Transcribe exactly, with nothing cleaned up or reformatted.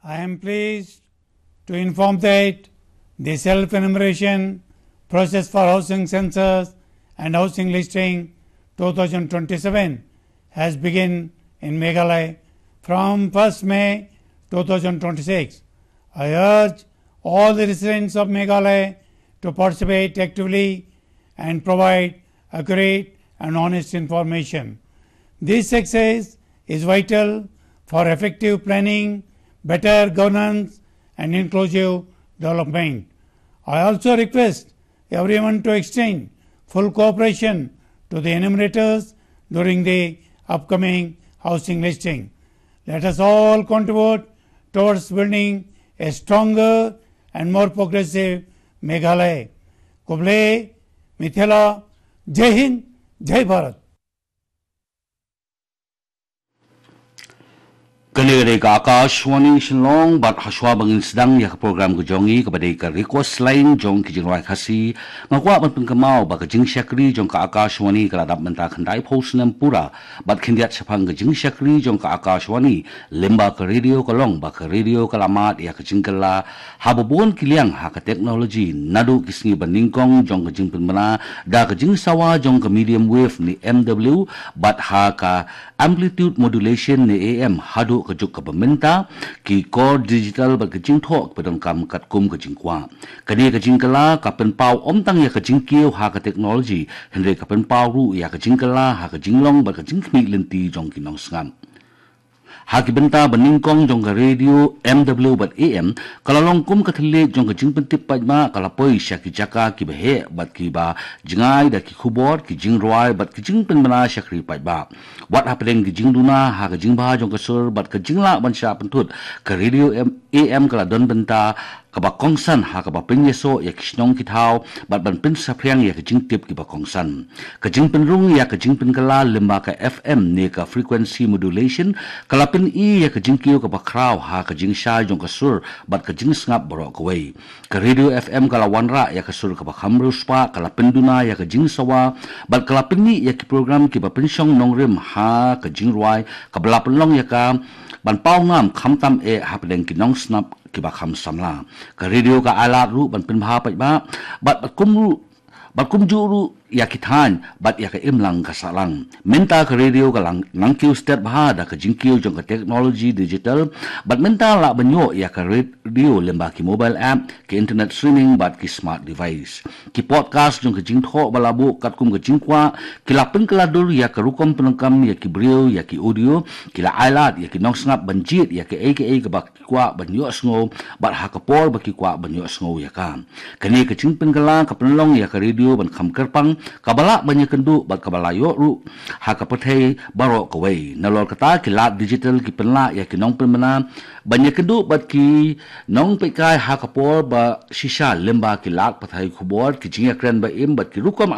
I am pleased to inform that the self-enumeration process for housing census and housing listing two thousand twenty-seven has begun in Meghalaya from first May two thousand twenty-six. I urge all the residents of Meghalaya to participate actively and provide accurate and honest information. This success is vital for effective planning, better governance, and inclusive development. I also request everyone to extend full cooperation to the enumerators during the upcoming housing listing. Let us all contribute towards building a stronger and more progressive Meghalaya. Khublei, Mithila, Jai Hind, Jai Bharat. Kane ka dei ka Akashvani Shillong, bad hashwa ba ngin sdang ïa ka program ka jong ngi kaba dei ka Request Line jong ki jingrwai Khasi, nga kwah ban pynkynmaw ba ka jingshakri jong ka Akashvani ka la dap mynta khyndai phew snem pura, bad khyndiat shaphang ka jingshakri jong ka Akashvani lyngba ka radio ka long ba ka radio ka la mad ïa ka jingkylla ha ba bun ki liang ha ka technology, naduh ki sngi ba nyngkong jong ka jingpynbna da ka jingsawa jong ka medium wave ne M W, bad ha ka amplitude modulation ne A M, haduh ka juk kaba mynta, ki core digital bad ka jingthoh kiba donkam katkum ka jingkwah. Kane ka jingkylla ka pynpaw ym tang ïa ka jingkiew ha ka technology, hynrei ka pynpaw ruh ïa ka jingkylla ha ka jinglong bad ka jingkhmih lynti jong ki nongsngap. Ha ki bynta ba nyngkong jong ka radio M W bad A M, ka la long kum ka thylliej jong ka jingpyntip paidbah, ka la poi sha ki jaka kiba heh bad kiba jngai da ki khubor, ki jingrwai bad ki jingpynbna shakri paidbah. Wat hapdeng ki jingduna ha ka jingbha jong ka sur bad ka jinglah ban shah pynthut, ka radio M-, A M ka la don bynta kaba kongsan ha kaba pynïasoh ïa ki shnong ki thaw bad ban pynsaphriang ïa ka jingtip kiba kongsan. Ka jingpynrung ïa ka jingpynkylla lyngba ka F M ne ka frequency modulation ka la pyni ïa ka jingkiew kaba khraw ha ka jingshai jong ka sur bad ka jingsngap baroh kawei. Ka radio F M ka la wanrah ïa ka sur kaba kham riewspah, ka la pynduna ïa ka jingsawa bad ka la pyni ïa ki program kiba pynshong nongrim ha ka jingrwai, kaba la pynlong ïa ka ban paw ngam khamtam eh hapdeng ki nongsngap kiba kham samla. Ka radio ka ailad ruh ban pynbha paidbah bad, bad kum ruh, bad kumjuh ruh ïa ki thaiñ bad ïa ka imlang ka sahlang. Mynta ka radio ka la nang kiew stet bha da ka jingkiew jong ka technology digital, bad mynta lah ban ïoh ïa ka radio lyngba ki mobile app, ki internet streaming bad ki smart device. Ki podcast jong ka jingthoh ba la buh katkum ka jingkwah ki la pynkylla dur ïa ka rukom pyndonkam ïa ki briew, ïa ki audio, ki la ailad ïa ki nongsngap ban jied ïa kaei kaei kaba ki kwah ban ïohsngew bad ha ka por ba ki kwah ban ïohsngew ïa ka. Kane ka jingpynkylla ka pynlong ïa ka radio ban kham kyrpang, kaba lah ban ïakynduh bad kaba la ïoh ruh ha ka pyrthei baroh kawei. Nalor kata, ki lad digital ki pynlah ïa ki nongpynbna ban ïakynduh bad ki nongpeitkai ha ka por ba shisha lyngba ki lad pathai khubor, ki jingïakren ba im bad ki rukom